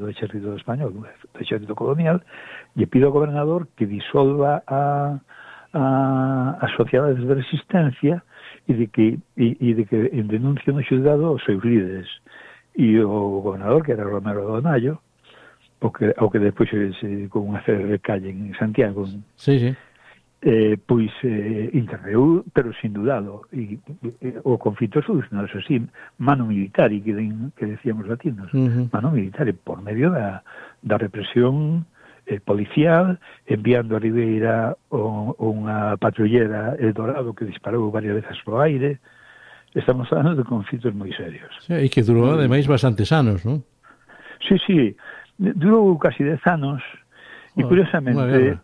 do exército español, do exército colonial, lle pide ao gobernador que disolva as sociedades de resistencia e de que denuncie no xulgado os seus líderes. E o gobernador, que era Romero Donayo, o que despois se dedicou unha serie de calle en Santiago, pois interveu, pero sin dudado, e o conflito solucionado así, mano militar, e que decíamos latinos, mano militar, por medio da represión policial, enviando a Ribeira unha patrullera Eldorado que disparou varias veces pro aire. Estamos falando de conflitos moi serios. E que durou, ademais, bastantes anos, non? Sí, durou casi 10 anos, e curiosamente,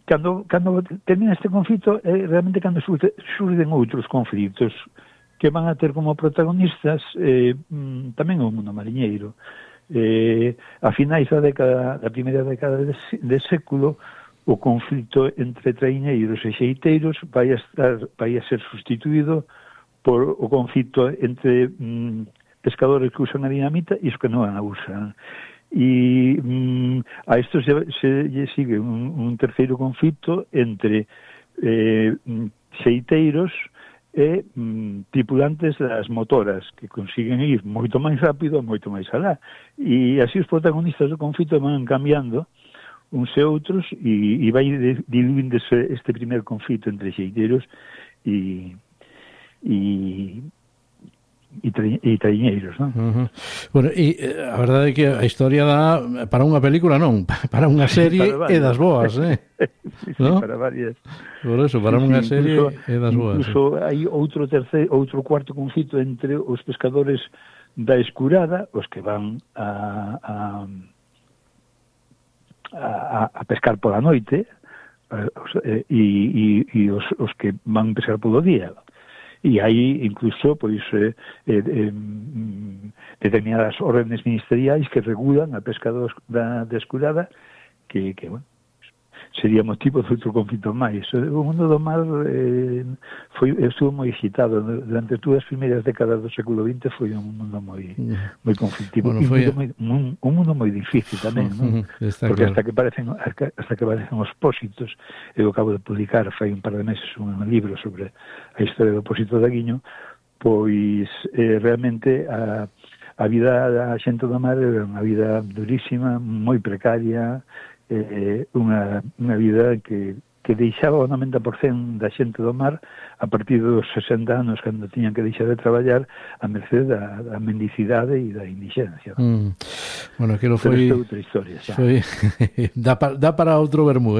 cando termina este conflito, realmente cando surden outros conflitos que van a ter como protagonistas tamén o mundo mariñeiro. A finais da primeira década de século, o conflito entre traiñeiros e xeiteiros vai a ser sustituído por o conflito entre pescadores que usan a dinamita e os que non a usan. E a isto se sigue un terceiro conflito entre xeiteiros e tripulantes das motoras que consiguen ir moito máis rápido e moito máis alá. E así os protagonistas do conflito van cambiando uns e outros e vai diluindo este primer conflito entre xeiteiros e traiñeiros, non? Bueno, e a verdade é que a historia dá para unha película, non, para unha serie e das boas, ¿no? Para varias. Por eso, para unha serie e das boas. Incluso hai outro cuarto conflito entre os pescadores da Escurada, os que van a pescar pola noite, e os que van pescar polo día. E hai incluso pois determinadas órdenes ministeriais que regulan a pesca da Escurada que bueno, sería motivo de outro conflito máis. O mundo do mar estuvo moi excitado durante todas as primeiras décadas do século XX. Foi un mundo moi conflictivo, bueno, un mundo moi difícil tamén, non? Porque claro, hasta que aparecen os pósitos. Eu acabo de publicar fai un par de meses un libro sobre a historia do pósito de Aguiño. Pois realmente a vida da xente do mar era unha vida durísima, moi precaria, unha vida que deixaba o 90% da xente do mar a partir dos 60 anos, cando tiñan que deixar de traballar, a merced da mendicidade e da indixencia. Bueno, aquilo foi outra historia xa. Dá para outro vermú,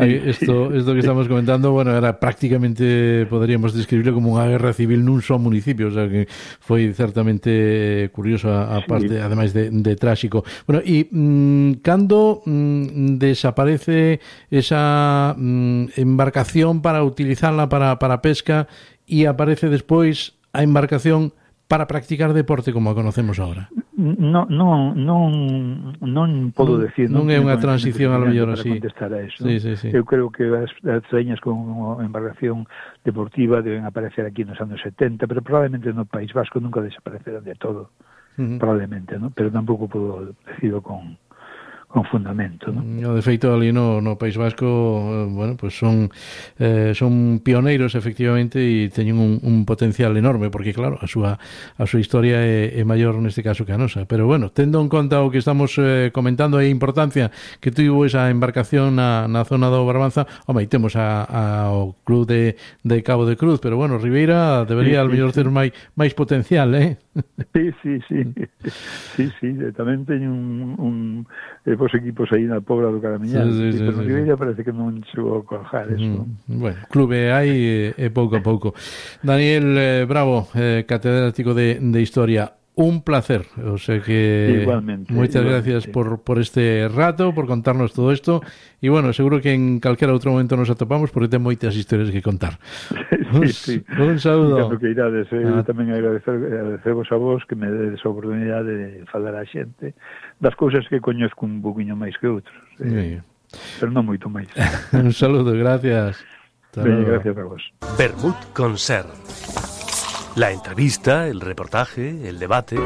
Esto que estamos comentando, bueno, era prácticamente, poderíamos describirlo como unha guerra civil nun só municipio, o sea que foi certamente curioso a parte, ademais de tráxico. Bueno, e cando desaparece esa embarcación para utilizarla para pesca e aparece despois a embarcación para practicar deporte como a conocemos agora? Non podo decir. Non é unha transición a lo mellor así. Contestar a eso. Sí. Eu creo que as trañas con embarcación deportiva deben aparecer aquí nos anos 70, pero probablemente no País Vasco nunca desaparecerán de todo. Probablemente, ¿no? Pero tampouco podo decirlo con fundamento, ¿no? De feito, ali no País Vasco, bueno, pues son pioneiros efectivamente e teñen un potencial enorme, porque claro, a súa historia é maior neste caso que a nosa, pero bueno, tendo en conta o que estamos comentando a importancia que tivo esa embarcación na zona do Barbanza, home, temos ao club de Cabo de Cruz, pero bueno, Ribeira debería ao mellor ter máis potencial, Sí, tamén teñen os equipos aí na Pobra do Caramiñal, pero Ribeira parece que non chegou a cojar eso. Bueno, clube hai pouco a pouco. Daniel Bravo, catedrático de Historia, un placer, o sea que igualmente, moitas gracias por este rato, por contarnos todo isto, e bueno, seguro que en calquera outro momento nos atopamos porque ten moitas historias que contar. Sí. Un saúdo. Cando que irades, tamén agradecemos a vos que me dedes a oportunidade de falar a xente das cousas que coñezco un poquinho máis que outros, pero non moito máis. Un saludo, gracias. Gracias a vos. Vermut con Ser. La entrevista, el reportaje, el debate.